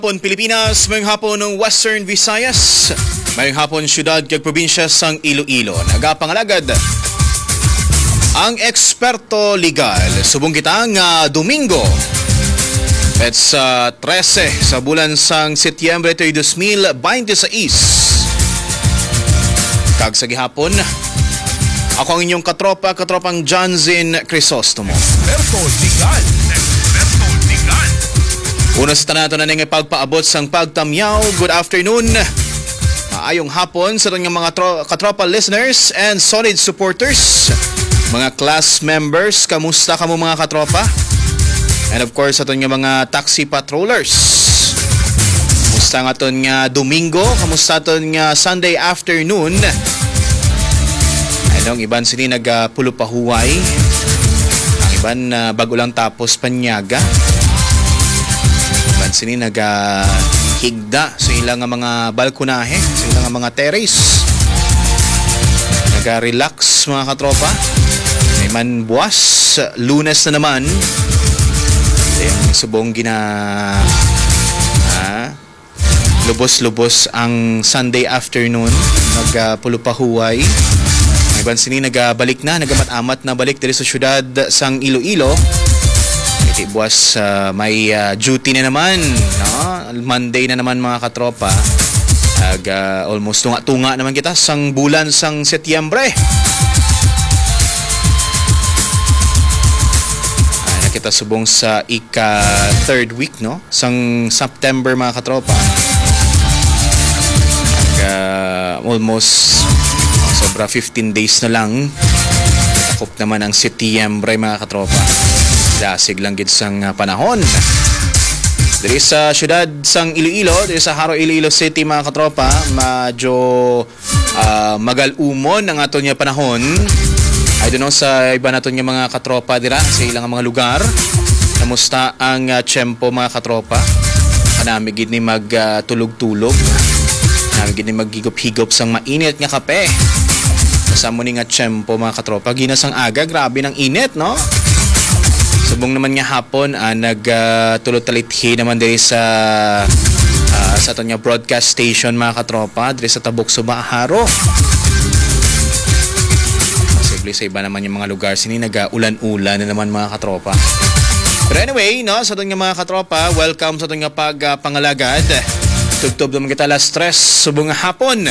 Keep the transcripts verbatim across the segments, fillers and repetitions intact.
Hapon Pilipinas, mayong hapon ng Western Visayas, mayong hapon siyudad kag probinsya sang Iloilo. Nagapangalagad ang eksperto legal. Subong kita nga Domingo, petsa trese sa bulan sang Setyembre tuig dos mil binte seis. Kag sa gihapon, ako ang inyong katropa, katropang Johnson Crisostomo. Eksperto legal. Eksperto legal. Una sa tanan, ato na ning pagpaabot sang pagtamyaw. Good afternoon. Maayong hapon sa aton nga mga tro-, katropa listeners and solid supporters. Mga class members, kamusta kamo, mga katropa? And of course, aton nga mga taxi patrollers. Kamusta ang aton nga Domingo? Kamusta aton nga Sunday afternoon? Ano, ang iban sini nagapulupahuway. Ang iban, ah, bago lang tapos panyaga. Iban sini nagahigda sa ilang nga mga balkonahe, sa ilang nga mga terrace. Naga-relax, mga katropa. May man buwas, Lunes na naman. Ayan, subong gina-, ah, lubos-lubos ang Sunday afternoon. Magpulupahuway. May iban sini nagabalik na, nagamat-amat na balik diri sa syudad sang Iloilo. Kay buwas, ah, may, ah, duty na naman, no? Monday na naman, mga katropa. Ag, ah, almost tunga-tunga naman kita sang bulan sang Setyembre. Ah, na kita subong sa ika third week, no? Sang September, mga katropa. Ag, ah, almost sobra fifteen days na lang. Takop naman ang Setyembre, mga katropa. Dasig lang gid sang, ah, panahon. Diri sa syudad sang Iloilo, diri sa Jaro, Iloilo City, mga katropa, medyo, ah, magal-umon ang aton nga panahon. I don't know sa iba naton nga mga katropa dira sa ilang mga lugar. Kamusta ang, ah, tiyempo, mga katropa? Kanami gid ni mag, ah, tulog-tulog. Kanami gid ni maghigop-higop sang mainit nga kape. Sa amo ni nga tiyempo, mga katropa, ginasang aga, grabe ng init, no? Subong naman nga hapon, ah, nag, ah, tulog-talithi naman diri sa, ah, sa aton nga broadcast station, mga katropa, diri sa Tabok, Suba, Jaro. Posible sa iba naman nga mga lugar sini nag-ulan-ulan na naman, mga katropa. Pero anyway, no, sa aton nga mga katropa, welcome sa aton nga pag, ah, pangalagad. Tubtob naman kita alas tres subong nga hapon.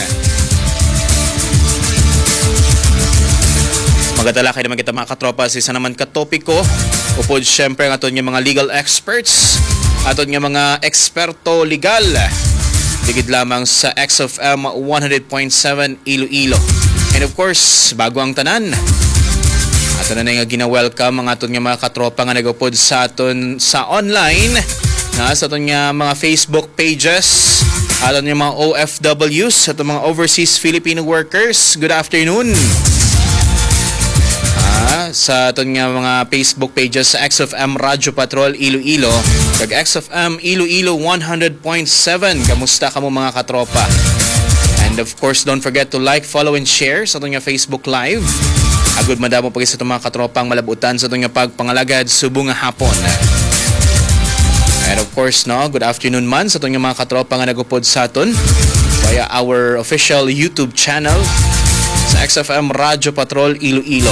Magatalakay naman kita, mga katropa, sa isa naman ka topiko. Upod, syempre, ang aton nga mga legal experts, aton nga mga eksperto legal. Digid lamang sa X F M one hundred point seven Iloilo. And of course, bago ang tanan, ato na nga gina-welcome ang aton nga mga katropa nga nagupod sa aton sa online, na sa aton nga mga Facebook pages, aton nga mga O F Ws, aton mga overseas Filipino workers. Good afternoon. Ah, sa aton nga mga Facebook pages sa X F M Radyo Patrol Iloilo, kag X F M Iloilo one hundred point seven. Kamusta kamo, mga katropa? And of course, don't forget to like, follow, and share sa aton nga Facebook Live. Agud madamo pa gid sa aton mga katropa ang malabutan sa aton nga pagpangalagad subong nga hapon. And of course, no, good afternoon man sa aton nga mga katropa nga nagupod sa aton via our official YouTube channel sa X F M Radyo Patrol Iloilo.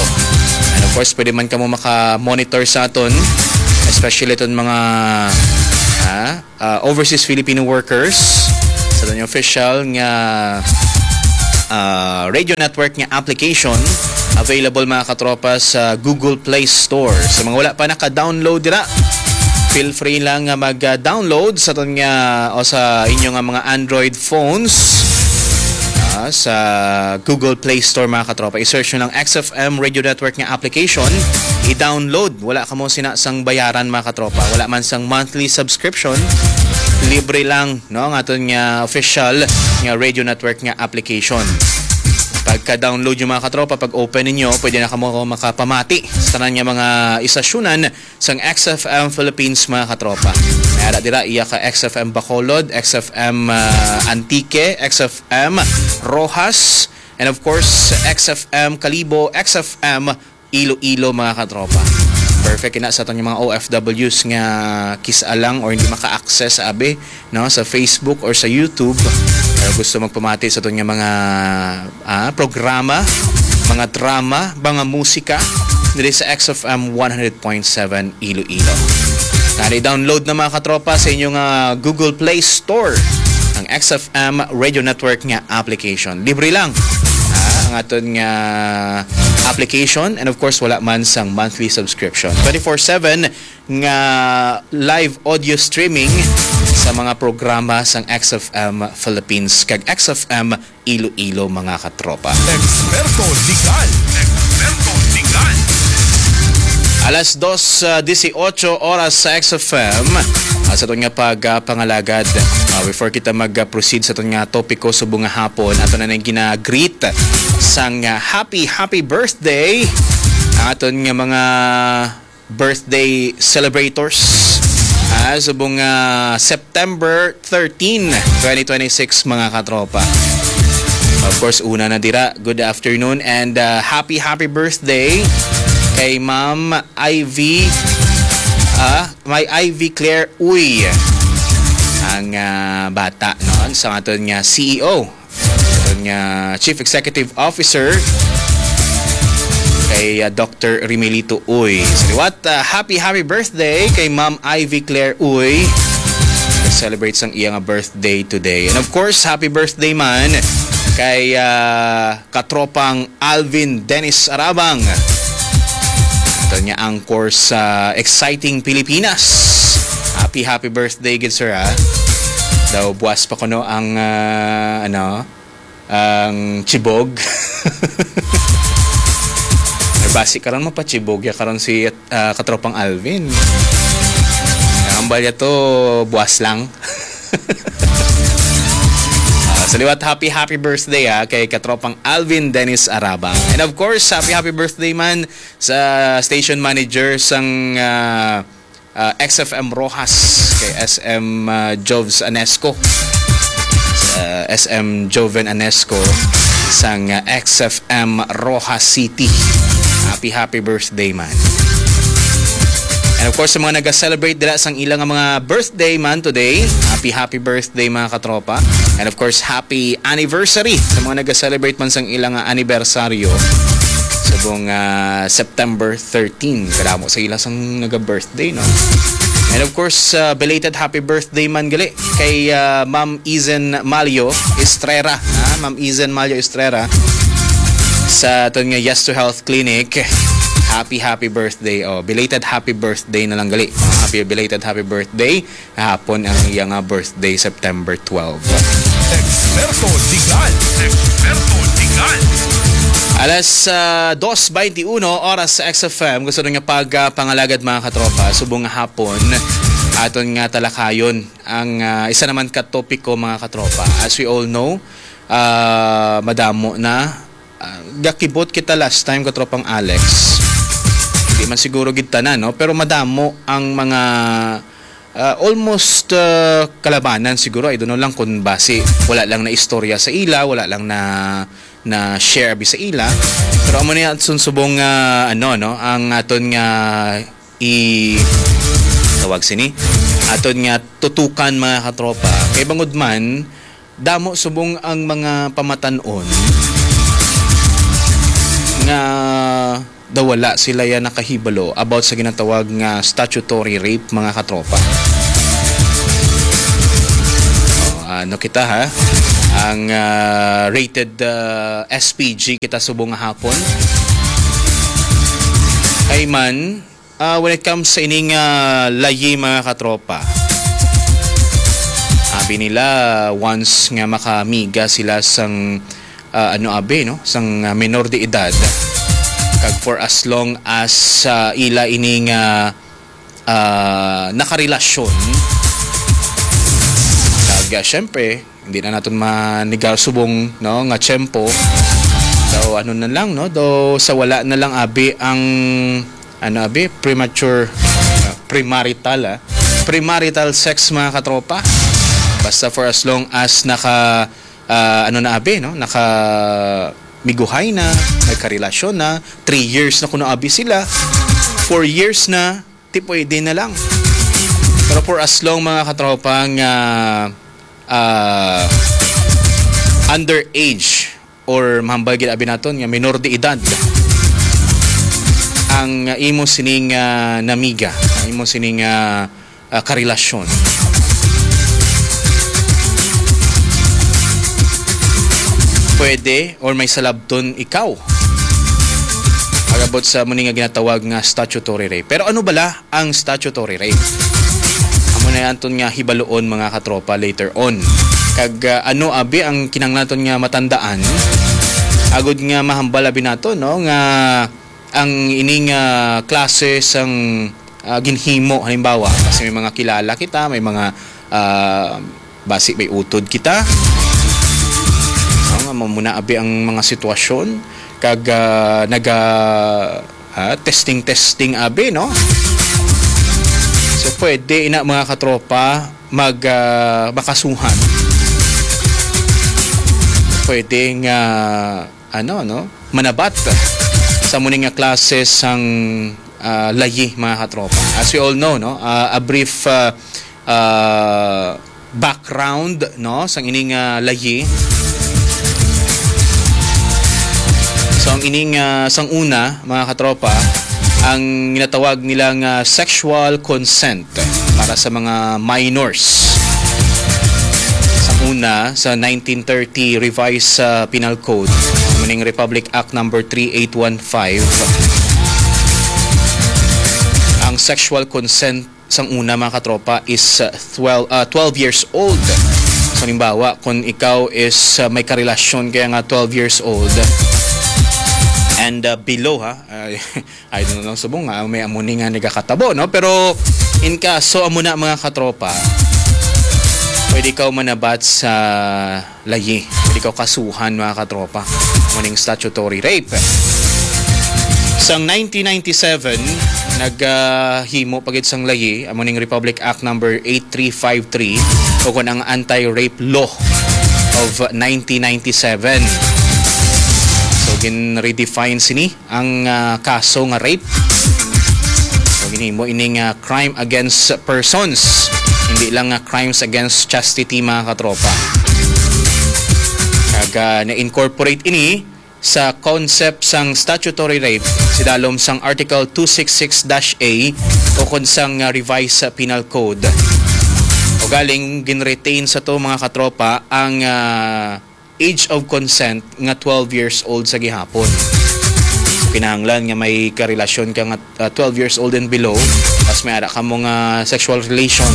And of course, pwede man kamo maka-monitor sa aton, especially iton mga, ha, ah, overseas Filipino workers sa aton official nga, ah, radio network nga application, available, mga katropa, sa Google Play Store. Sa mga wala pa naka-download dira, feel free lang nga mag-download sa aton nga o sa inyo nga mga Android phones, ah, sa Google Play Store, mga katropa. I-search nyo lang X F M Radio Network nga application, i-download. Wala kamo sina sang bayaran, mga katropa. Wala man sang monthly subscription. Libre lang, no, ang aton nga official nga radio network nga application. Pagka-download nyo, mga katropa, pag-open ninyo, pwede na kamo makapamati sa tanan nga mga istasyonan sang X F M Philippines, mga katropa. May ara dira, iya ka X F M Bacolod, X F M, ah, Antique, X F M Roxas, and of course, X F M Kalibo, X F M Iloilo, mga katropa. Perfect ina sa aton nga mga O F Ws nga kis-a lang or hindi maka-access abi, no, sa Facebook or sa YouTube, pero gusto magpamati sa aton nga mga, ah, programa, mga drama, mga musika diri sa X F M one hundred point seven Iloilo. Nari download na, mga katropa, sa inyong, ah, Google Play Store ang X F M Radio Network nga application. Libre lang, ah, ang aton nga application, and of course, wala man sang monthly subscription. Twenty-four seven nga live audio streaming sa mga programa sang X F M Philippines kag X F M Iloilo, mga katropa. Eksperto Legal. Eksperto Legal. Alas dos, ah, dieciocho oras sa X F M. Ah, sa aton nga pagpangalagad, ah, before kita mag-proceed sa aton nga topiko subong nga hapon, ato na nang gina-greet sang, ah, happy, happy birthday ang aton nga mga birthday celebrators. Ah, subong, ah, September thirteen, twenty twenty-six, mga katropa. Of course, una na dira, good afternoon and, ah, happy, happy birthday kay Ma'am Ivy, ah, may Ivy Claire Uy, ang, ah, bata, no? Sa aton nga C E O, aton nga Chief Executive Officer, kay, ah, Doctor Rimelito Uy. Sa liwat, ah, happy, happy birthday kay Ma'am Ivy Claire Uy. Celebrate sang iya nga birthday today. And of course, happy birthday man kay, ah, katropang Alvin Dennis Arabang. Ito niya ang course sa Exciting Pilipinas. Happy, happy birthday, good sir, ha? Daw buwas pa kuno ang, ah, ano, ang chibog. Pero basi karon mapachibog ya karon si, ah, katropang Alvin. Ang balya to, buwas lang. Ah, sa liwat, happy, happy birthday, ha, kay katropang Alvin Dennis Arabang. And of course, happy, happy birthday man sa station manager sang, ah, ah, X F M Roxas, kay S M, ah, Jovs Anesco. Sa S M Joven Anesco sang, ah, X F M Roxas City. Happy, happy birthday man. And of course, sa mga naga-celebrate dira sang ilang mga birthday man today, happy, happy birthday, mga katropa. And of course, happy anniversary sa mga naga-celebrate man sang ilang, ah, anibersaryo subong, ah, September thirteen. Kadamo sa ila sang naga-birthday, no? And of course, ah, belated happy birthday man gali kay, ah, Ma'am Izen Malio Estrera, ha? Ma'am Izen Malio Estrera sa aton nga Yes to Health Clinic. Happy, happy birthday. Oh, belated happy birthday na lang gali. Happy belated happy birthday. Hapon ang iya nga birthday, September twelve. Eksperto Legal. Eksperto Legal. Alas, ah, dos twenty-one, oras sa X F M. Gusto nga pag, ah, pangalagad, mga katropa, subong nga hapon, aton nga talakayon ang, ah, isa naman ka topiko, mga katropa. As we all know, ah, madamo na, ah, gakibot kita last time, katropang Alex. Di man siguro gid tanan, no? Pero madamo ang mga, ah, almost, ah, kalabanan siguro. I don't know lang kung basi wala lang na istorya sa ila, wala lang na, na share abi sa ila. Pero amo ni ang sunsubong nga, ano, no? Ang aton nga i-, tawag sini? Aton nga tutukan, mga katropa. Kay bangod man, damo subong ang mga pamatan-on nga daw wala sila ya nakahibalo about sa ginatawag nga statutory rape, mga katropa. O, ano kita, ha? Ang, ah, rated, ah, S P G kita subong nga hapon. Kay man, ah, when it comes sa ining, ah, layi, mga katropa, abi nila, once nga makamiga sila sang, ah, ano, abi, no, sang, ah, menor de edad, kag for as long as, ah, ila ini nga, ah, nakarelasyon, kag, ah, syempre, hindi na naton manigar subong, no, nga tiyempo. Daw ano na lang, no? Daw sa wala na lang abi ang, ano, abi, premature, ah, premarital, ah. Premarital sex, mga katropa. Basta for as long as naka, ah, ano na abi, no? Naka miguhay na, may karelasyon na, three years na kuno abi sila. four years na, di pwede na lang. Pero for as long, mga katropa, nga ah, underage or mahambal gid abi naton nga minor de edad ang imo sining ah, namiga, ang imo sining ah, ah, karelasyon, pwede or may salabton ikaw agabot sa muni nga ginatawag nga statutory rape. Pero ano bala ang statutory rape? Amo na anton nga hibaluon, mga katropa, later on. Kag ah, ano abi ang kinahanglan naton nga matandaan agud nga mahambal abi nato, no, nga ang ining ah, klase sang ah, ginhimo, halimbawa, kasi may mga kilala kita, may mga ah, basi may utod kita, no, nga mamuna abi ang mga sitwasyon kag ah, naga ah, testing testing abi, no? So pwede ina, mga katropa, mag ah, makasuhan, pwede nga ano, no, manabat sa muni nga klase sang ah, layi, mga katropa. As we all know, no, ah, a brief ah, ah, background, no, sang ining ah, layi. So ang ining ah, sang una, mga katropa, ang ginatawag nila nga sexual consent para sa mga minors. Sa una, sa nineteen thirty Revised ah, Penal Code, meaning Republic Act number three eight one five, ang sexual consent sang una, mga katropa, is uh, twelve, uh, twelve years old. So, halimbawa, kung ikaw is uh, may karelasyon kaya nga twelve years old and uh, below, ha? Uh, I don't know, subong nga may amo ni nga nagakatabo, no? Pero in kaso amo na, mga katropa, pwede ka manabat sa layi. Pwede ka kasuhan, mga katropa. Muning statutory rape. Sang nineteen ninety-seven, naghimo pa gid sang layi, amo ning Republic Act number eight three five three, o kon ang Anti-Rape Law of nineteen ninety-seven. So, gin-redefine sini ang ah, kaso nga rape. So, ginhimo ining ah, crime against persons, hindi lang nga crimes against chastity, mga katropa. Kag ah, na-incorporate ini sa concept sang statutory rape sidalom sang Article two six six dash A o kon sang ah, Revised Penal Code. O galing, ginretain sa to, mga katropa, ang ah, age of consent nga twelve years old sa gihapon. So, kinahanglan nga may karelasyon ka nga ah, twelve years old and below, mas may ara ka mo nga sexual relation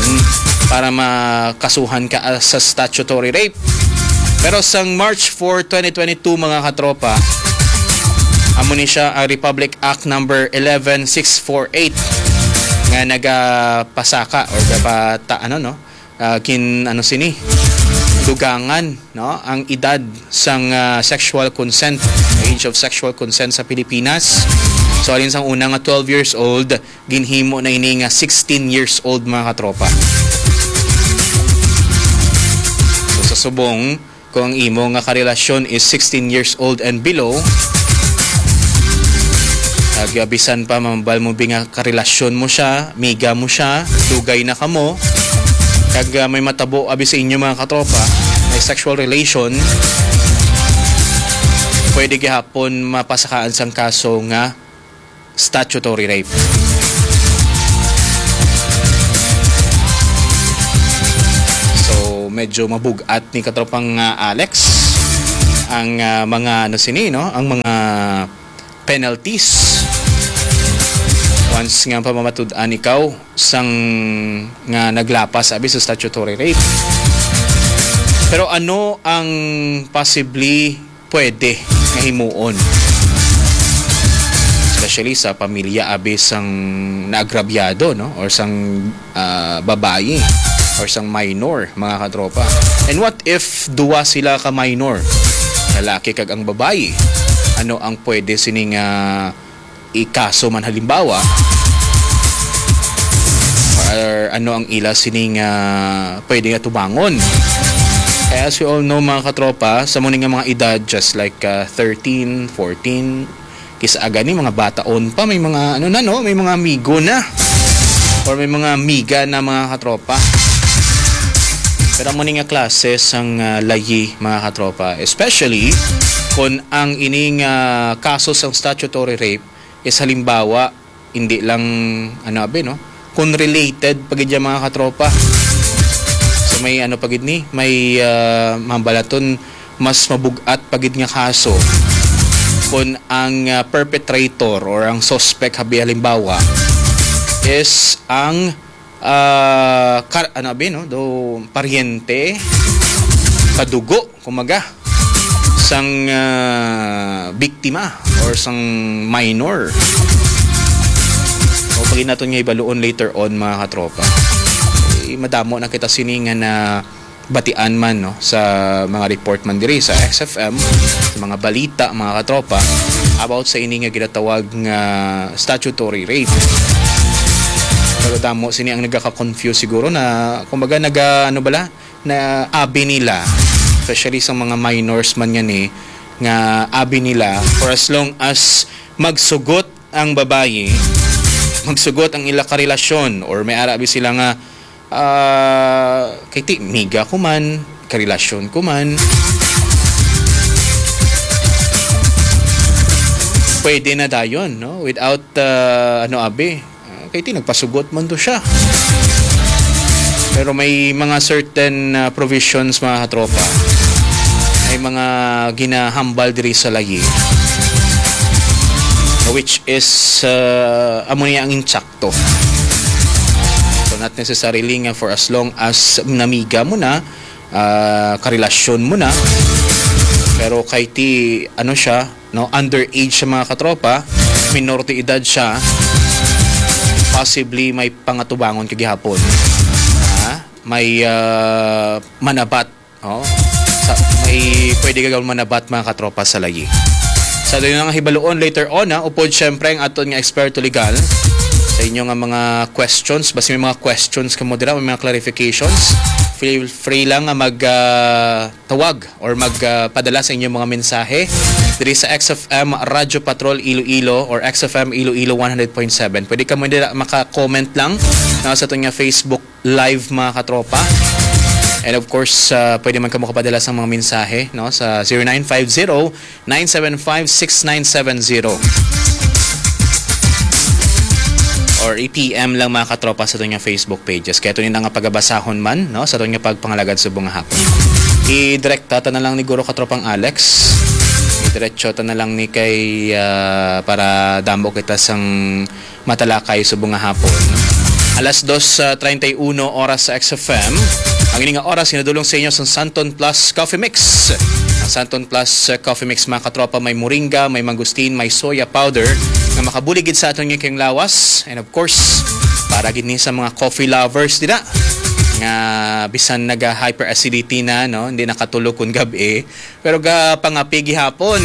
para makasuhan ka ah, sa statutory rape. Pero sang March four, twenty twenty-two, mga katropa, amo ni siya ang Republic Act number eleven six four eight nga nagapasaka or gapata, ano, no? Ah, kin-, ano sini? Dugangan, no? Ang edad sang ah, sexual consent, age of sexual consent sa Pilipinas. So, alin sang una nga twelve years old, ginhimo na ini nga sixteen years old, mga katropa. So, sa subong, kung ang imo nga karelasyon is sixteen years old and below, kag bisan pa mambal mo bi nga karelasyon mo siya, miga mo siya, dugay na kamo, kag ah, may matabo abi sa inyo, mga katropa, may sexual relation, pwede gihapon mapasakaan sang kaso nga statutory rape. So, medyo mabug-at ni katropang ah, Alex ang ah, mga, ano sini, no? Ang mga penalties once nga pamamatud-an ikaw sang nga naglapas abi sa statutory rape. Pero ano ang possibly pwede nga himuon, especially sa pamilya abi sang naagrabyado, no, or sang ah, babayi or sang minor, mga katropa? And what if duwa sila ka minor, lalaki kag ang babayi? Ano ang pwede sining ah, ikaso man, halimbawa, or ano ang ila sining ah, pwede nga tubangon? Kaya, as we all know, mga katropa, sa muni nga mga edad, just like ah, thirteen, fourteen, Kis-a gani, mga bataon pa, may mga, ano na, no? May mga amigo na. Or may mga amiga na, mga katropa. Pero amo ni nga klase sang, ah, layi, mga katropa. Especially kung ang ining, ah, kaso sang statutory rape is halimbawa, hindi lang, ano, abi, no? Kung related pa gid yan, mga katropa. So may, ano pa gid ni, may, ah, mambalaton, mas mabug-at pa gid nga kaso kung ang, ah, perpetrator or ang suspect, habi halimbawa, is ang, ah, kar-, ano, abi, no? Do, paryente, kadugo, kumaga, sang, ah, biktima or sang minor. O pag naton nga ibaluon later on, mga katropa. Eh, madamo na kita sini nga na batian man, no, sa mga report man diri sa X F M, sa mga balita, mga katropa, about sa ini nga ginatawag nga statutory rape. Pero damo sini ang nagaka-confuse siguro na, kumbaga, naga, ano bala, na abi nila, especially sa mga minors man nga ni, nga abi nila, for as long as magsugot ang babayi, magsugot ang ila karelasyon, or may ara abi sila nga, ah, kay ti, miga ko man, karelasyon ko man, pwede na dayon, no? Without, ah, ano, abi, ah, kay ti, nagpasugot man to siya. Pero may mga certain, ah, provisions, mga katropa. May mga ginahambal diri sa layi, which is, ah, amo niya ang insakto. So, not necessarily nga for as long as namiga mo na, ah, karelasyon mo na, pero kay ti, ano siya, no, underage siya, mga katropa, minor de edad siya, possibly may pangatubangon ka gihapon. Ha? May, ah, manabat. Oh, sa, may pwede ka gawin manabat, mga katropa, sa layi. Sa aton nga hibaluon later on, ha, upod syempre ang aton nga eksperto legal sa inyo nga mga questions. Basta may mga questions kamo dira, may mga clarifications, feel free lang nga mag, ah, tawag or mag, ah, padala sa inyong mga mensahe diri sa X F M Radyo Patrol Iloilo or X F M Iloilo one hundred point seven. Pwede kamo dira maka-comment lang, no, sa aton nga Facebook Live, mga katropa. And of course, ah, pwede man kamo kapadala sa mga mensahe, no, sa zero nine five zero, nine seven five, six nine seven zero. Or i-P M lang, mga katropa, sa aton nga Facebook pages. Kaya ito nga pagabasahon man, no, sa aton nga pagpangalagad subong nga hapon. I-direkta ta na lang ni Guro Katropang Alex. I-diretso ta na lang ni kay, ah, para damo kita sang matalakay subong nga hapon. Alas dos, ah, treinta y uno oras sa X F M. Ang ini nga oras ginadulong sa inyo sang Santon Plus Coffee Mix. Ang Santon Plus, ah, Coffee Mix, mga katropa, may moringa, may mangosteen, may soya powder nga makabulig gid sa aton nga kayong lawas. And of course, para gid ni sa mga coffee lovers dira nga bisan naga hyperacidity na, no, hindi nakatulog kun gab-i, pero gapangape gihapon.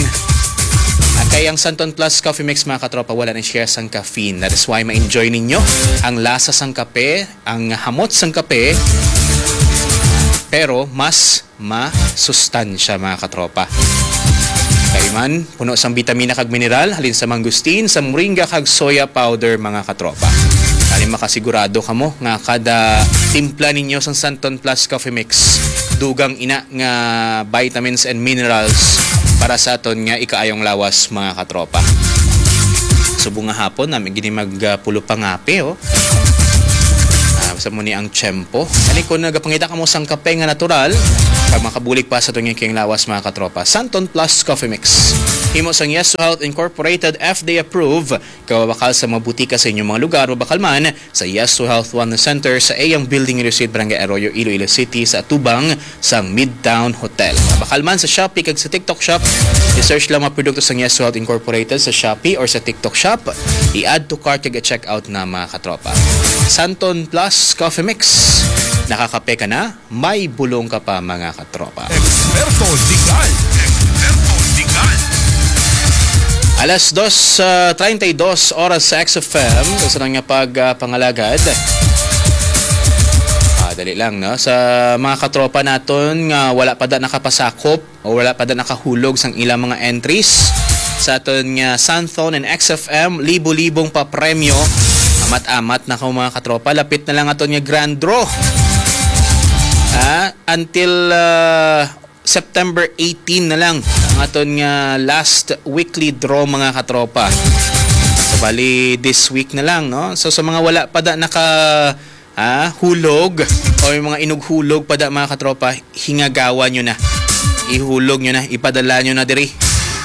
Ah, kay ang Santon Plus Coffee Mix, mga katropa, wala ni siya sang caffeine. That is why ma-enjoy ninyo ang lasa sang kape, ang hamot sang kape, pero mas masustansya, mga katropa. Kay man, puno sang bitamina kag mineral, halin sa mangosteen, sa moringa kag soya powder, mga katropa. Ani makasigurado kamo nga kada timpla ninyo sang Santon Plus Coffee Mix, dugang ina nga vitamins and minerals para sa aton nga ikaayong lawas, mga katropa. Subong nga hapon, nami gini mag, ah, pulo pangape, oh. Ah, sa mo ni ang tiyempo. Ani kung nagapangita kamo sang kape nga natural, kag makabulig pa sa aton nga kayong lawas, mga katropa. Santon Plus Coffee Mix. Himo sang Yes to Health Incorporated, F D A approved. Kawabakal sa mga butika sa inyong mga lugar, mabakal man sa Yes to Health Wellness Center sa Eyang Building, Iloilo Street, Barangay Arroyo, Iloilo City, sa atubang sang Midtown Hotel. Mabakal man sa Shopee kag sa TikTok Shop. I-search lang mga produkto sang Yes to Health Incorporated sa Shopee or sa TikTok Shop. I-add to cart kag i-check out na, mga katropa. Santon Plus Coffee Mix. Nakakape ka na, may bulong ka pa, mga katropa. Eksperto legal. Eksperto legal. Alas dos, ah, treinta y dos oras sa X F M. Sa nga pag, ah, pangalagad. Ah, dali lang, no? Sa mga katropa naton nga wala pa da nakapasakop o wala pa da nakahulog sang ilang mga entries, sa aton nga Santhon and X F M, libo-libong pa premyo. Amat-amat na ko, mga katropa. Lapit na lang aton nga grand draw. Ah, until ah, September eighteen na lang ang aton nga last weekly draw, mga katropa. So, bali, this week na lang, no? So, sa mga wala pa da naka ah, hulog o yung mga inughulog pa da, mga katropa, hingagawan nyo na. Ihulog nyo na, ipadala nyo na diri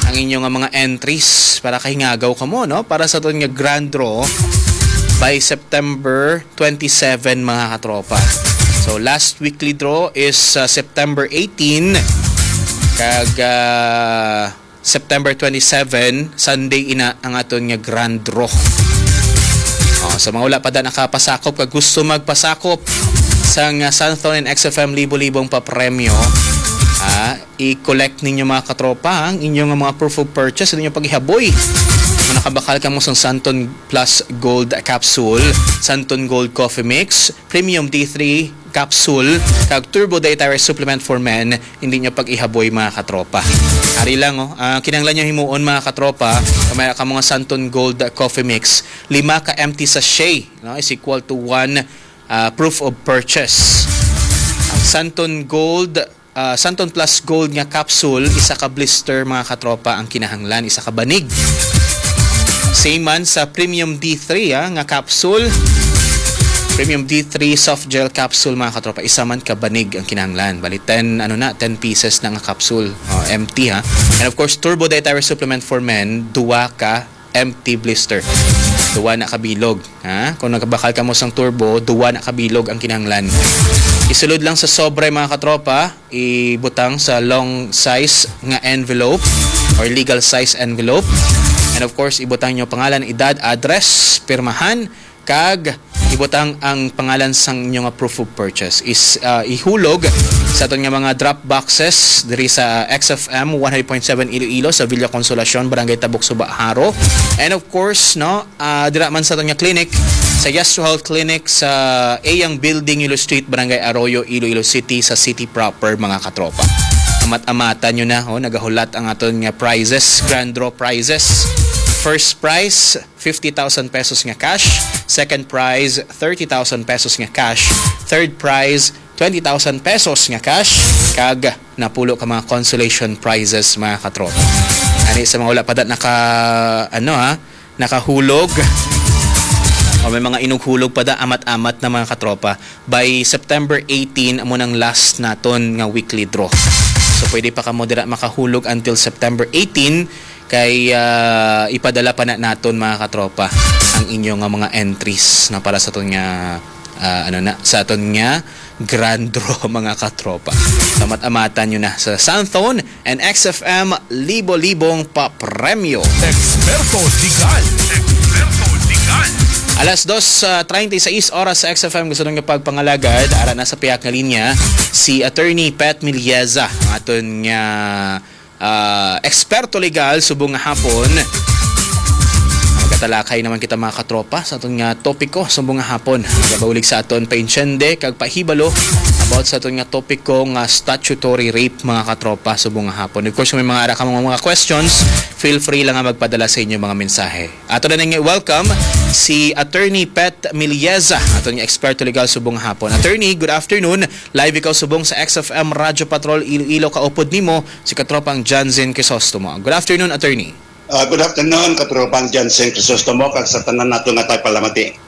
ang inyong mga entries para kahingagaw kamo, no? Para sa aton nga grand draw by September twenty-seven, mga katropa. So, last weekly draw is uh, September eighteen, kag uh, September twenty-seven, Sunday ina ang aton nga grand draw. Oh, sa mga wala pa da nakapasakop kag gusto magpasakop sa nga Santhon and X F M libo-libong papremyo, ah, i-collect ninyo, mga katropa, ang inyong mga proof of purchase sa inyong paghihaboy. Kung nakabakal kamo sa Santon Plus Gold Capsule, Santon Gold Coffee Mix, Premium D three Capsule, kag Turbo Dietary Supplement for Men, hindi nyo pag-ihaboy, mga katropa. Ari lang, oh. Ang kinahanglan nyo himuon, mga katropa, kung may ka mga Santon Gold Coffee Mix, lima ka empty sachet, no, is equal to one ah, proof of purchase. Ang Santon Gold, ah, Santon Plus Gold nga capsule, isa ka blister, mga katropa, ang kinahanglan, isa ka banig. Same man sa Premium D three, ah, nga capsule. Premium D three soft gel capsule, mga katropa, isa man ka banig ang kinahanglan. Bali, ten, ano na, ten pieces na nga capsule. Oh, empty, ha. And of course, Turbo Dietary Supplement for Men, duwa ka empty blister. Duwa na ka bilog, ha? Kung nagabakal kamo sang turbo, duwa na ka bilog ang kinahanglan. Isulod lang sa sobre, mga katropa, ibutang sa long size nga envelope or legal size envelope. And of course, ibutang nyo pangalan, edad, address, pirmahan, kag ibutang ang pangalan sang inyo nga proof of purchase. Is, ah, ihulog sa aton nga mga drop boxes diri sa X F M one hundred point seven Iloilo, sa Villa Consolacion, Barangay Tabok Suba, Jaro. And of course, no, ah, dira man sa aton nga clinic sa Yesro Health Clinic sa Eyang Building, Yulo Street, Barangay Arroyo, Iloilo City, sa city proper, mga katropa. Amat-amatan nyo na, oh, nagahulat ang aton nga prizes, grand draw prizes. First prize, fifty thousand pesos nga cash. Second prize, thirty thousand pesos nga cash. Third prize, twenty thousand pesos nga cash. Kag napulo ka mga consolation prizes, mga katropa. Ani sa mga wala pa da naka, ano ha, nakahulog o may mga inughulog pa da, amat-amat na, mga katropa. By September eighteen, amo nang last naton nga weekly draw. So, pwede pa kamo dira makahulog until September eighteen. Kay, ah, ipadala pa na naton, mga katropa, ang inyo nga mga entries na para sa aton nga, ah, ano na, sa aton nga grand draw, mga katropa. Amat-amatan nyo na sa Santhon and X F M libo-libong papremyo. Eksperto Legal. Eksperto Legal. Alas dos, ah, treinta y seis oras sa X F M, gusto nga pagpangalagad, ara na sa piyak nga linya si Attorney Pat Milieza, ang aton nga ah, eksperto legal subong nga hapon. Magatalakay naman kita, mga katropa, sa aton nga topiko subong nga hapon. Nagabaulig sa aton painsyende kag pahibalo about sa aton nga topiko nga statutory rape, mga katropa, subong nga hapon. Of course, kung may mga ara ka mga, mga questions, feel free lang nga magpadala sa inyo mga mensahe. Ato na nga welcome si Attorney Pat Milieza, aton nga eksperto legal subong nga hapon. Attorney, good afternoon. Live ikaw subong sa X F M Radyo Patrol Iloilo, kaupod nimo si katropang Janzen Crisostomo. Good afternoon, attorney. Ah, good afternoon, katropang Janzen Crisostomo, kag sa tanan nato nga tagpalamati.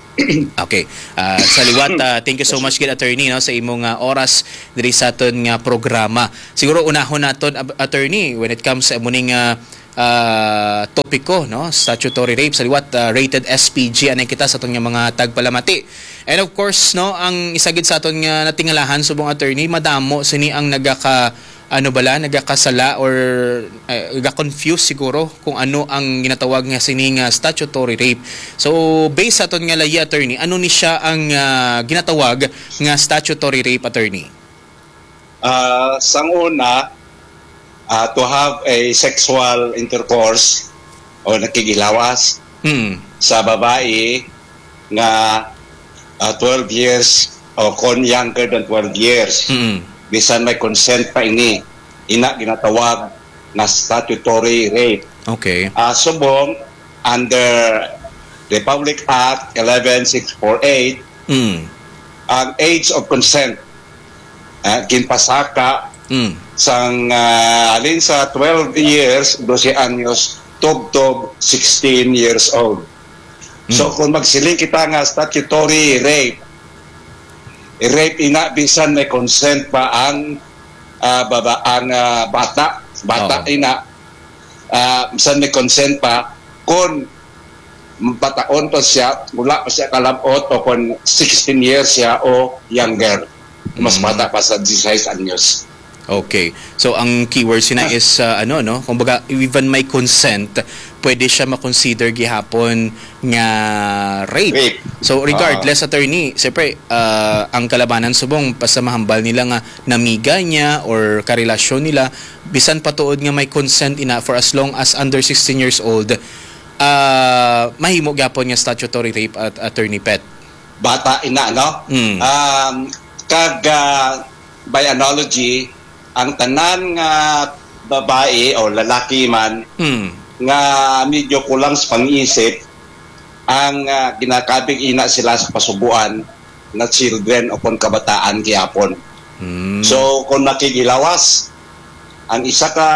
Okay. Ah, sa liwat, ah, thank you so much gid, attorney, no, sa imong, ah, oras diri sa aton nga programa. Siguro unahon naton, ab-, attorney, when it comes sa amo ning, ah, ah, topiko, no, statutory rape, sa liwat, ah, rated S P G anay kita sa aton nga mga tagpalamati. And of course, no, ang isa gid sa aton nga natingalahan subong, attorney, madamo sini ang nagaka, ano bala, nagakasala or, eh, ga-confuse siguro kung ano ang ginatawag nga sini nga statutory rape. So, based sa aton nga layi, attorney, ano ni siya ang, ah, ginatawag nga statutory rape, attorney? Ah, sang una, ah, to have a sexual intercourse o nakighilawas Mm. sa babae nga, ah, twelve years o kon younger than twelve years. Mm. Bisan may consent pa ini, ina ginatawag nga statutory rape. Okay. Ah, subong under Republic Act eleven six four eight, Mm. ang age of consent, ah, ginpasaka Mm. sang, ah, halin sa twelve years, dose anyos, tubtob sixteen years old. So, Mm. kung magsiling kita nga statutory rape, rape ina bisan may consent pa ang, ah, baba-, ang, ah, bata, bata Oo. ina, ah, bisan may consent pa, kung bataon pa siya, wala pa siya kalabot, o kung sixteen years siya o younger, mas Mm. bata pa sa disisais anyos. Okay. So, ang keyword sina Ah. is, ah, ano, no? Kumbaga, even may consent, pwede siya ma-consider gihapon nga rape. Rape. So, regardless, Ah. attorney, siyempre, ah, ang kalabanan subong, basta mahambal nila nga namiga niya or karelasyon nila, bisan pa tuod nga may consent ina, for as long as under sixteen years old, ah, mahimo gyapon nga statutory rape at attorney pet. Bata ina, no? Mm. Um, kag, ah, by analogy, ang tanan nga babae o lalaki man Mm. nga medyo kulang sa pang-isip, ang, ah, ginakabig ina sila sa pasubuan na children o kon kabataan gihapon. Mm. So, kung makigilawas ang isa ka,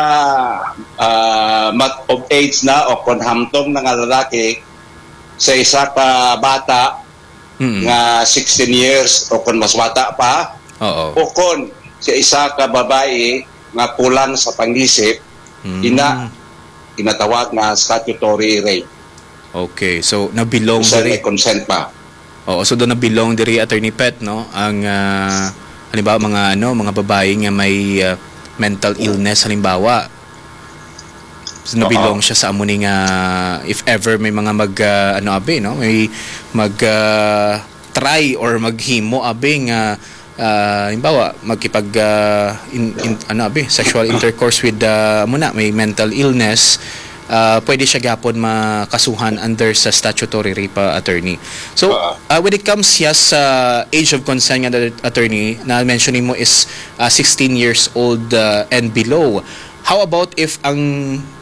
ah, mat of age na o kon hamtong na nga lalaki sa isa ka bata Mm. nga sixteen years o kon mas bata pa, Oo. o kon sa isa ka babae nga kulang sa pangisip, Mm. ina, ginatawag nga statutory rape. Okay, so nabilong Bisan diri. may consent pa. Oo, so do nabilong diri, Attorney Pet, no? Ang, ah, halimbawa, mga, ano, mga babae nga may, ah, mental illness, halimbawa. So, nabilong Oo. siya sa amo ni nga, if ever may mga mag, ah, ano, abi, no? May mag, ah, try or maghimo, abi, nga, ah, halimbawa, magkipag, ah, in, in, ano, abi, sexual intercourse with, ah, amo na, may mental illness, ah, pwede siya gihapon makasuhan under sa statutory rape, ah, attorney. So, Oo. ah, when it comes, yes, sa age of consent nga, attorney, na mention mo is, ah, sixteen years old, ah, and below. How about if ang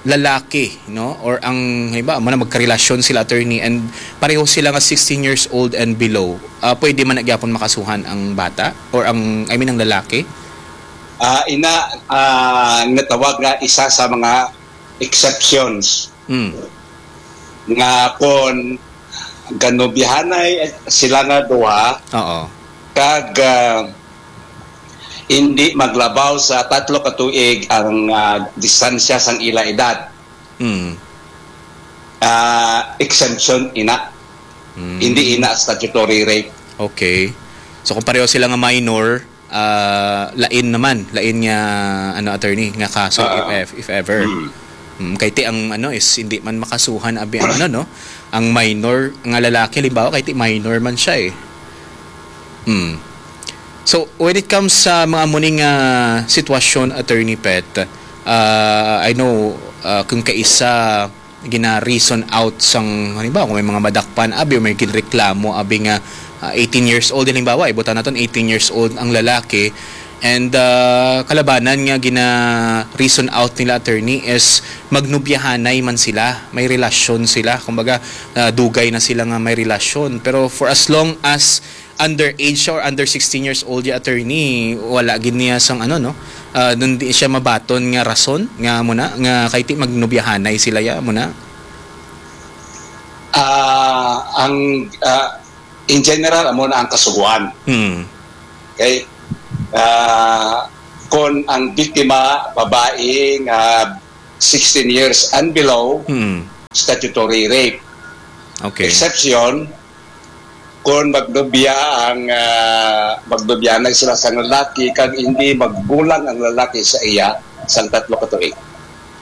lalaki, no, or ang, halimbawa, mo na magkarelasyon sila, attorney, and pareho sila nga sixteen years old and below, ah, pwede man na gyapon makasuhan ang bata or ang, I mean, ang lalaki? Ah, ina, ah, natawag nga isa sa mga exceptions Mm. nga kon ganubihanay sila nga duha Oo. kag, ah, hindi maglabaw sa tatlo ka tuig ang, ah, distansya sang ila edad. Mm. Ah, exemption ina. Mm. Hindi ina statutory rape. Okay. So, kung pareho sila nga minor, ah, lain naman, lain nga, ano, attorney, nga kaso, Ah. if, if, if ever. Mm. Mm, kay ti ang, ano, is hindi man makasuhan abi ang, ano, no? Ang minor nga lalaki, halimbawa, kay ti minor man siya, eh. Mm. So, when it comes sa mga muning, ah, sitwasyon, Attorney Pet, ah, I know, ah, kung kaisa gina-reason out sang, halimbawa, kung may mga madakpan, abi, o may ginreklamo, abi nga, ah, eighteen years old, halimbawa, ibutan naton eighteen years old ang lalaki, and, ah, kalabanan nga gina-reason out nila, attorney, is magnubyahanay man sila, may relasyon sila, kumbaga, ah, dugay na sila nga may relasyon. Pero for as long as underage siya or under sixteen years old ya, attorney, wala gid niya sang, ano, no? Ah, nun di siya mabaton nga rason nga muna nga kay ti magnubyahanay sila ya muna. Ah, ang, ah, in general, amo na ang kasugoan. Hmm. Okay? Ah, kon ang biktima, babae nga sixteen years and below, Hmm. statutory rape. Okay. Exception, kon magnubya ang, ah, magnubya na sila sa lalaki, kag hindi maggulang ang lalaki sa iya sang tatlo ka tuig.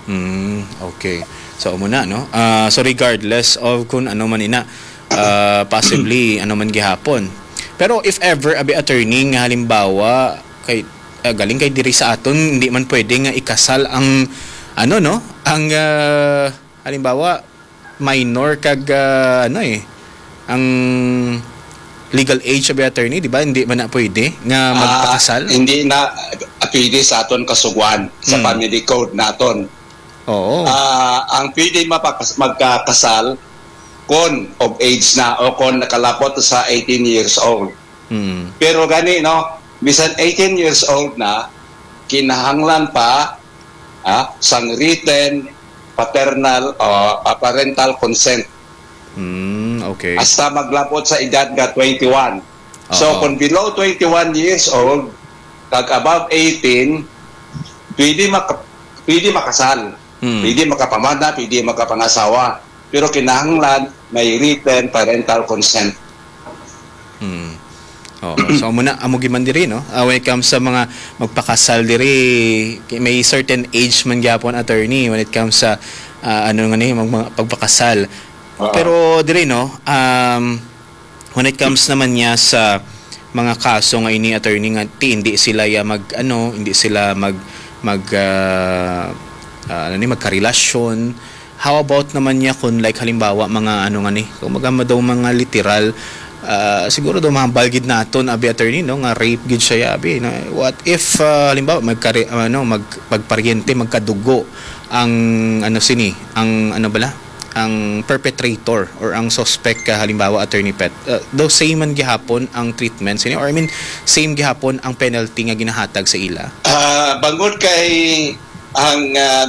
Hmm, okay. So, amo na, no? Ah, so, regardless of kung ano man ina, ah, possibly, ano man gihapon. Pero if ever, abi, attorney, nga halimbawa, kay, ah, galing kay diri sa aton, hindi man pwede nga ikasal ang, ano, no? Ang, ah, halimbawa, minor kag, ah, ano, eh, ang legal age, abi, attorney, di ba? Hindi man na pwede nga Ah, magpakasal? hindi na, ah, pwede sa aton kasugoan, sa Hmm. family code naton. Oo. Ah, ang pwede mapakas- magkakasal kon of age na o kon nakalapot sa eighteen years old. Mm. Pero gani, no, bisan eighteen years old na, kinahanglan pa, ah, sang written paternal o, ah, parental consent. Mm, okay. Hasta maglabot sa edad nga twenty-one. So, Oo. Kung below twenty-one years old, kag above eighteen, pwede maka- pwede makasal. Mm. Pwede makapamana, pwede makapangasawa. Pero kinahanglan may written parental consent. Hmm. Oo. So, amo na, amo giman diri, no? Ah, when it comes sa mga magpakasal diri, kay may certain age man gyapon, attorney, when it comes sa, ah, ano nga ni, mag, mga pagpakasal. Oo. Pero diri, no, um, when it comes naman niya sa mga kaso nga ini, attorney, nga ti hindi sila ya mag, ano, hindi sila mag, mag, ah, ah, ano ni, magkarelasyon. How about naman niya kung, like, halimbawa, mga ano nga ni, kung mga daw mga literal, ah, siguro daw mahambal gid naton, abi, attorney, no, nga rape gid siya, abi, no? What if, ah, halimbawa, magkare, ano, mag, magparyente, magkadugo ang, ano, sini, ang, ano bala, ang perpetrator or ang suspect ka, halimbawa, Attorney Pet, uh, daw same man gihapon ang treatment sini, or, I mean, same gihapon ang penalty nga ginahatag sa ila? Ah, bangod kay ang ah,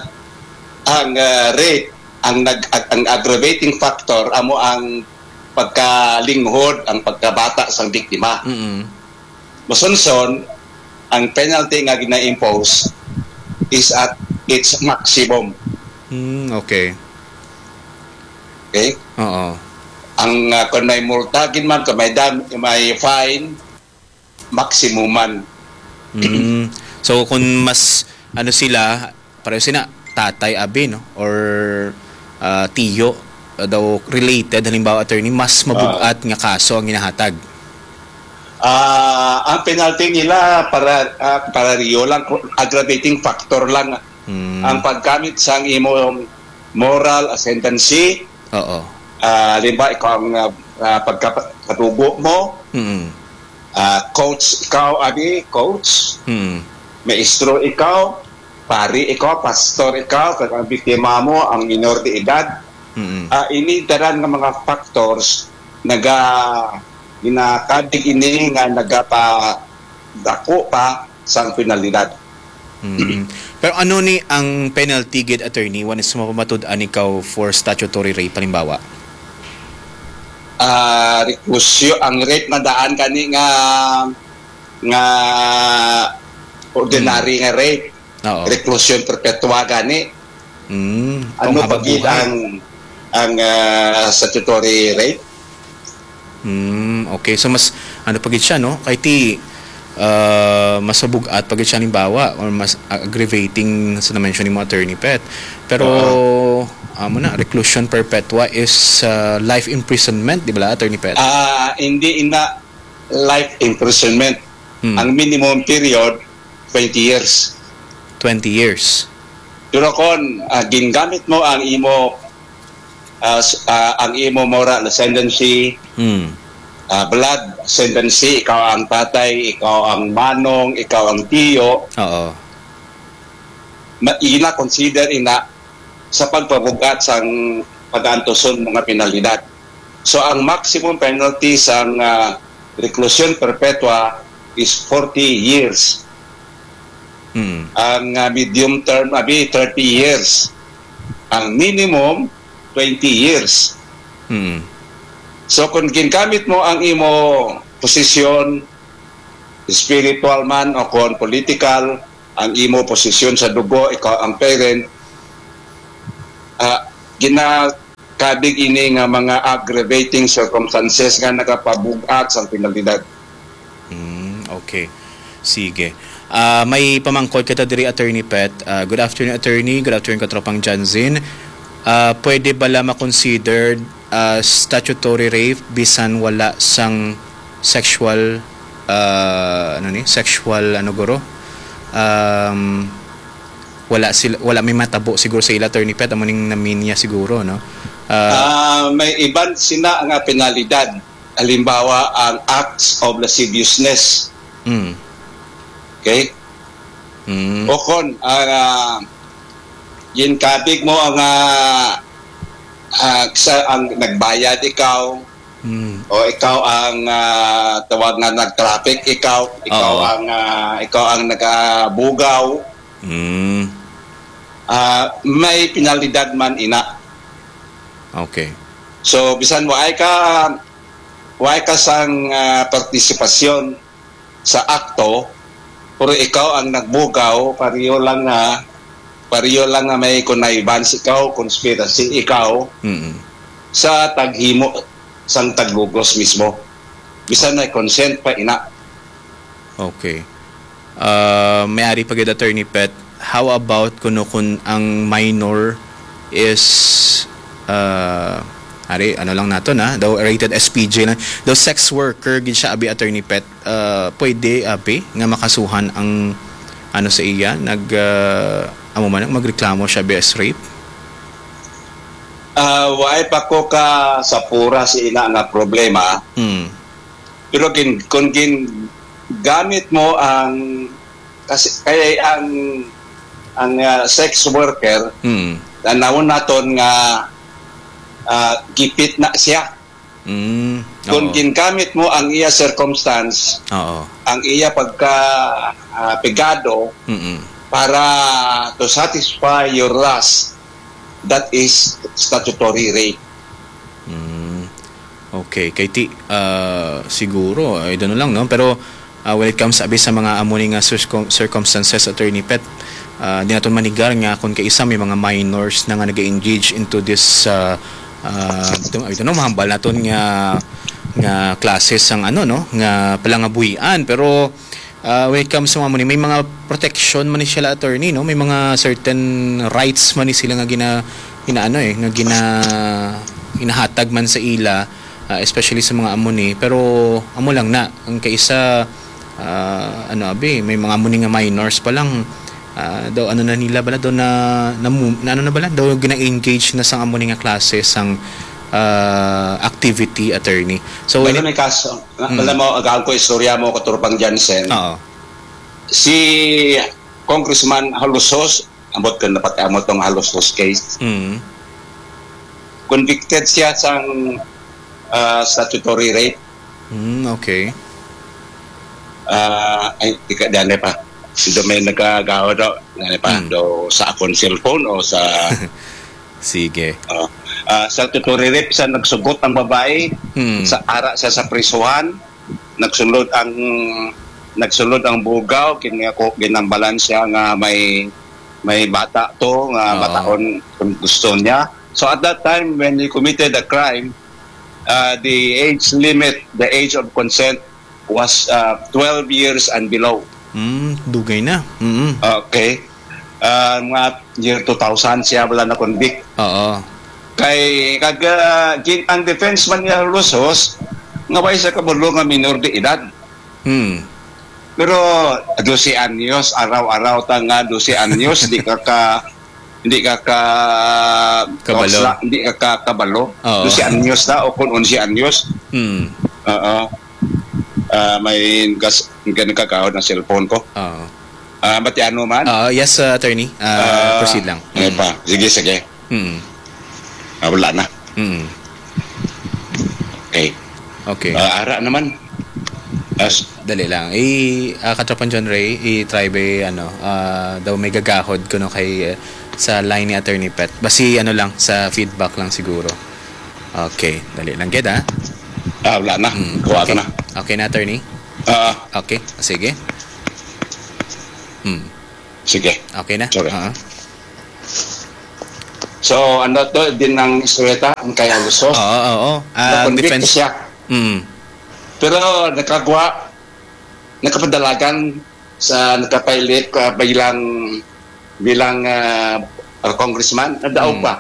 ang ah, rape, ang nag ang aggravating factor amo ang pagkalinghod, ang pagkabata sang biktima. Mm. Masunson, ang penalty nga gina-impose is at its maximum. Mm, okay. Okay? Oo. Ang ah, kung may multa gid man, kung may dam, may fine, maximum man. Mm. So kung mas ano sila, pareho sila tatay, abi, no, or ah, tiyo, ah, daw related, halimbawa, attorney, mas mabugat nga kaso ang ginahatag. Ah, ang penalty nila para ah, para riyo lang, aggravating factor lang Mm. ang paggamit sang imong moral ascendancy. Oo. Ah, halimbawa, ikaw ang ah, ah, pagkakadugo mo, Mm. ah, coach ikaw, abi, coach, Mm. maestro ikaw, pari ikaw, pastor ikaw, kag ang biktima mo ang minor de edad. Mm. Ah, ini tanan nga mga factors naga ginakabig ini nga nagapadako pa sang penalidad. Mm. Pero ano ni ang penalty gid, attorney, when is mapamatud-an ikaw for statutory rape, halimbawa? Ah, reclusio, ang rape nga daan kani nga nga ordinary nga rape, Oo. Reclusion perpetua gani. Mm. Ano Panghabang pa gid buhay. ang ang ah, statutory rape? Mm, okay. So mas ano pa gid siya, no? Kay ti ah, mas mabugat pa gid siya, halimbawa, or mas aggravating sa na-mention ni mo, Attorney Pet. Pero amo na, reclusion perpetua is ah, life imprisonment, di ba, Attorney Pet? Ah, hindi ina life imprisonment. Hmm. Ang minimum period twenty years. Twenty years. Pero kon ah, gingamit mo ang imo ah, s- ah, ang imo moral ascendancy, Mm. ah, blood ascendancy, ikaw ang tatay, ikaw ang manong, ikaw ang tiyo, Oo. ma- ina consider ina sa pagpabugat sang pag-antuson mga penalidad. So ang maximum penalty sang ah, reclusion perpetua is forty years. Mm. Ang ah, medium term abi thirty years. Ang minimum twenty years. Mm. So kung gingamit mo ang imo posisyon, spiritual man o kon political, ang imo posisyon sa dugo, ikaw ang parent, ah, ginakabig ini nga mga aggravating circumstances nga nagapabugat sa penalidad. Mm, okay. Sige. Ah, may pamangkot kita diri, Attorney Pet. Ah, good afternoon, Attorney. Good afternoon, Katropang Janzin. Ah, pwede bala ma-considered ah, statutory rape bisan wala sang sexual ah, ano ni? Sexual ano guro? Um, wala sila, wala may matabo siguro sa ila, Attorney Pet, amo ning naminya siguro, no? Ah, Ah, may iban sina nga penalidad. Halimbawa, ang acts of lasciviousness. mm, Okay? mm, O kon, ah, ginkabig mo ang, ah, ah, sa, ang nagbayad ikaw, Mm. o ikaw ang, ah, tawag nga nag-traffic, ikaw, ikaw Oo. ang, ah, ikaw ang nagabugaw, Mm. ah, may penalidad man ina. Okay. So, bisan waay ka, waay ka sang, ah, partisipasyon sa akto, pero ikaw ang nagbugaw, pareho lang nga, pareho lang nga may connivance ikaw, conspiracy ikaw, Mm. sa taghimo sang taglugos mismo. Bisan may consent pa ina. Okay. Ah, may ari pa gid, Attorney Pet. How about kuno kun ang minor is, ah, ari, ano lang nato na, daw rated S P J lang. Daw sex worker gid siya, abi, Attorney Pet. Ah, pwede, abi, nga makasuhan ang, ano, sa iya, nag, ah, amo man, magreklamo siya, abi, as rape? Ah, waay pa ko ka sa pura sa ina nga problema. Hmm. Pero gin-, kung gingamit mo ang, kasi, kay ang, ang, ah, sex worker, Mm. tanawon naton nga, ah, gipit na siya. Mm. Kung Oo. gingamit mo ang iya circumstance, Oo. ang iya pagka, ah, pegado Mm-mm. para to satisfy your lust, that is statutory rape. Mm. Okay, kay ti, ah, siguro, I don't know lang, no? Pero, ah, when it comes, abi, sa mga amo ni nga circum-, circumstances, Attorney Pet, ah, di naton manigar nga kung kaisa may mga minors na nga nag-engage into this, ah, ah, ito, ito, no, mahambal naton nga, nga classes ang, ano, no, nga palangabuhian. Pero, Ah, when it comes sa mga amo ni, may mga protection man ni sila, attorney, no? May mga certain rights man ni sila nga gina-, ginaano, eh, nga gina-, ginahatag man sa ila, ah, especially sa mga amo ni. Pero amo lang na, ang kaisa, ah, ano, abi, may mga amo ni nga minors pa lang, ah, daw ano na nila bala, daw na, na, na ano na bala, daw gina-engage na sang amo ni nga klase sang, ah, activity, attorney. So, Wala when it may kaso. Na, Mm. Alam mo, agaan ko istorya mo, Katurpang Jansen. Oo. Si Congressman Halosos, ambot ko napatiamot tong Halosos case. Mm. Convicted siya sang, ah, statutory rape. Mm, okay. Ah, ay, di ka, dali pa. Do may nagagawa do, dali pa, Mm. do sa akong cellphone o sa Sige. Ah, ah, statutory rape sa nagsugot ang babae, Hmm. sa ara siya sa prisuhan, nagsulod ang, nagsulod ang bugaw, kini ako, ginambalan siya nga may, may bata to, nga Oo. bataon kung gusto niya. So at that time, when he committed the crime, uh, the age limit, the age of consent was, uh, twelve years and below. Mm, dugay na. Mm. Okay. Ah, mga year two thousand siya wala na convict. Oo. Kay kag, ah, gin-, ang defense man niya, Lusos, nga way sa kabalo nga minor de edad. Hmm. Pero dose anyos, araw-araw ta nga dose anyos, di ka ka, hindi ka ka Kabalo. Di ka ka kabalo. Oo. Dose anyos na o kung onse anyos. Hmm. Oo. Ah, may gas-, nagkagahod ang cellphone ko. Oo. Ah, Batiano man? Oo, yes, uh, attorney. Ah, Ah, proceed lang. Ano Mm. pa? Sige, sige. Mm. Ah, wala na. Mm. Okay. Okay. Ah, ara naman. As Dali lang. I, ah, Katropang John Ray, i-try ba, ano, ah, daw may gagahod kuno kay, eh, sa line ni Attorney Pet. Basi, ano lang, sa feedback lang siguro. Okay, dali lang gid, ha? Ah, wala na. Mm, Kuha ko okay. na. Okay na, attorney? Ah. Okay, sige. Hmm. Sige. Okay na? Sorry. Oo. So, ano to, din ang istorya ta, ang kay Aluso? Oo, oo. Ah, ang Na-convict defense siya. Mm. Pero nakagwa, nakapadalagan sa, nakapailit, ah, bilang, bilang, ah, congressman, nadaog Mm. pa.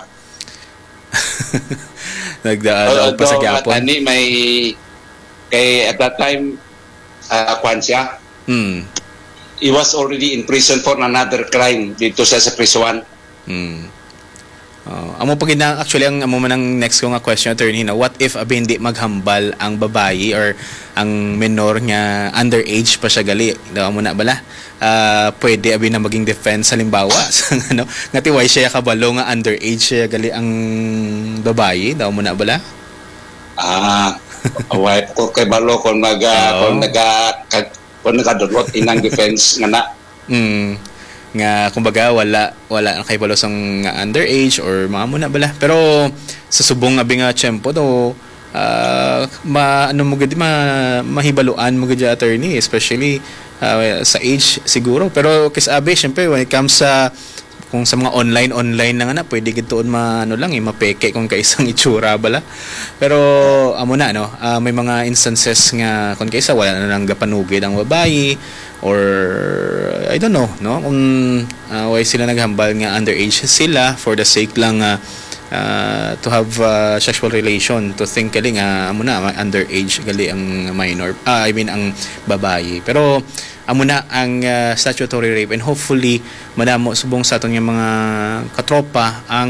Nagda-, Ah, daog pa sa daog gihapon. Tani may, kay at that time, ah, kwan siya. Hmm. He was already in prison for another crime dito sa, sa prisuan. Hmm. Oh, amo pa gid na, actually, ang amo man ang next ko nga question, attorney, no? What if abi hindi maghambal ang babayi or ang menor nga underage pa siya gali? Daw amo na bala? Ah, pwede abi na maging defense, halimbawa, sa ano, nga tiway siya kabalo nga underage siya gali ang babayi, daw amo na bala? Ah, away ko kay balo kung mag, ah, Oo. kung naga-, kag-, kung nagadulot inang defense nga na. Mm. Nga, kumbaga, wala, wala na kay balo sang nga underage or mga muna bala. Pero sa subong abi nga tiyempo, do, ah, ma-, ano mo gid, ma-, mahibaluan mo gid, attorney, especially, ah, sa age siguro. Pero kis abi, syempre, when it comes sa, kung sa mga online, online na nga na, pwede gid tuon ma-, ano lang, eh, mapeke kung kaisang itsura bala. Pero amo na, no? Ah, may mga instances nga kung kaisa wala na lang gapanugid ang babayi, or I don't know, no? Kung, ah, why sila naghambal nga underage sila for the sake lang nga, ah, to have, ah, sexual relation, to think gali nga amo na, ma-, underage gali ang minor, ah, I mean, ang babayi. Pero amo na ang, ah, statutory rape, and hopefully madamo subong sa aton nga mga katropa ang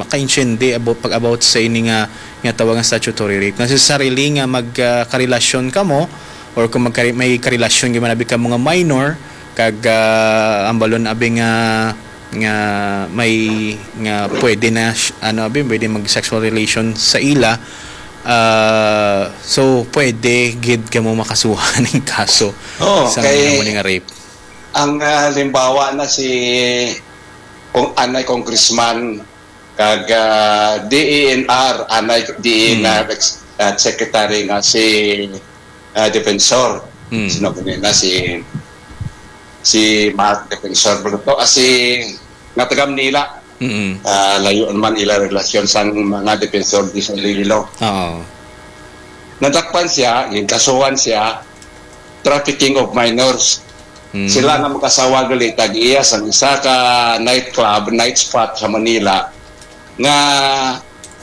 makaintindi about, pag-about sa ini nga, nga tawag nga statutory rape. Necessarily nga mag, ah, karelasyon kamo, or kung magkare-, may karelasyon gyud man abi ka mga minor, kag, ah, ang balon abi nga, nga may, nga pwede na sh-, ano abi, pwede mag sexual relation sa ila, ah, so pwede gid kamo makasuhan ning kaso Oo, sa kay mga nga rape. Ang, ah, halimbawa na si kung anay congressman kag, ah, D E N R, anay D E N R Hmm. ex-, ah, secretary nga si, ah, Defensor. Hmm. Sino ba na si, si Mark Defensor Bruto? Ah, si, nga taga Manila. Mm. Ah, layo naman ila relasyon sang mga Defensor di sa Iloilo. Oo. Nadakpan siya, ginkasuhan siya, trafficking of minors. Mm. Sila nga mag-asawa gali, tag-iya sang isa ka nightclub, night spot sa Manila, nga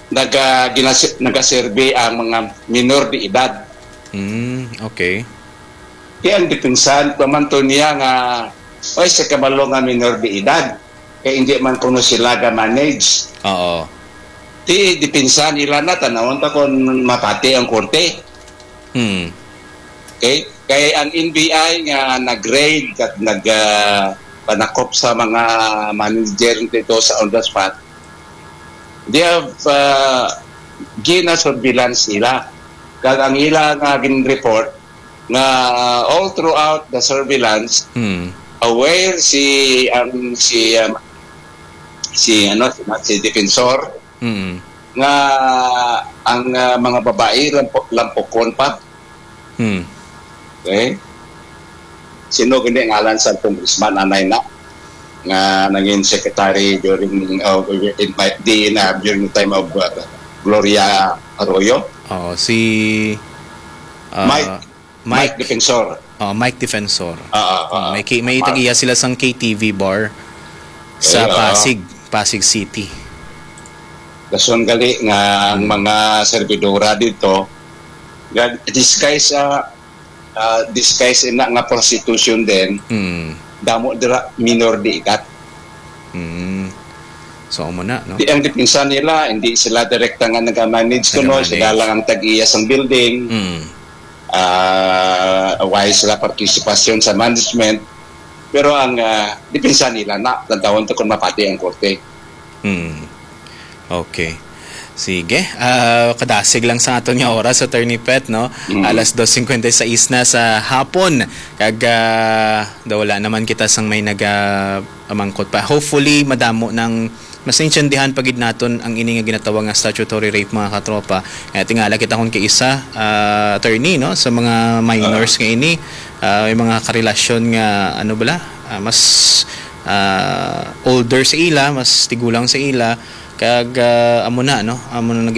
naga-, ginasi-, nagaserbi ang mga minor de edad. Mm, okay. Kaya ang depensa, pamanto niya nga, "Oy, sa kabalo nga minor de edad, kay hindi man kuno sila ga-manage." Oo. Ti, depensa nila na, tanawon ta kung mapati ang korte. Hmm. Okay? Kay ang N B I nga nag-raid at nag, ah, panakop sa mga manager dito sa on the spot, they have, ah, gina-surveillance nila. Kag ang ila nga gin-report nga all throughout the surveillance, Hmm. aware si, ang, si, um, si, ano, si, si Defensor, Hmm. nga ang, ah, mga babae lampo-, lampokon pa. Hmm. Okay? Sino gani ang ngalan sa congressman, anay na, nga nangin secretary during, uh, in my, di na, during the time of, uh, Gloria Arroyo? Oo, si, uh, Mike, Mike Mike. Defensor. Oh, Mike Defensor. Ah, ah, ah, May ki-, may Mark. Tag-iya sila sang K T V bar sa Eh, oo. Pasig, Pasig City. Dason gali nga ang Hmm. mga servidora dito, ga-, disguise, ah, ah, disguise ina nga prostitution din, Hmm. damo dira minor de edad. Hmm. So, amo na, no? Di, ang depensa nila, hindi sila direkta nga nag-manage kuno, Nag-manage. Sila lang ang tag-iya sang building. Hmm. Ah, why sila partisipasyon sa management? Pero ang, ah, depensa nila na, tantawon to kung mapati ang korte. Hmm. Okay. Sige. Ah, kadasig lang sa aton nga oras, Attorney Pet, no? Mm. Alas dos cincuenta y seis na sa hapon. Kag, ah, daw wala naman kita sang may naga-, amangkot pa. Hopefully, madamo nang mas naintindihan pa gid naton ang ini nga ginatawag nga statutory rape, mga katropa. Kaya tingala kita kung kaisa, ah, attorney, no, sa mga minors Ah. nga ini, ah, may mga karelasyon nga, ano bala, ah, mas, ah, older sa ila, mas tigulang sa ila, kag, ah, amo na, no, amo na nag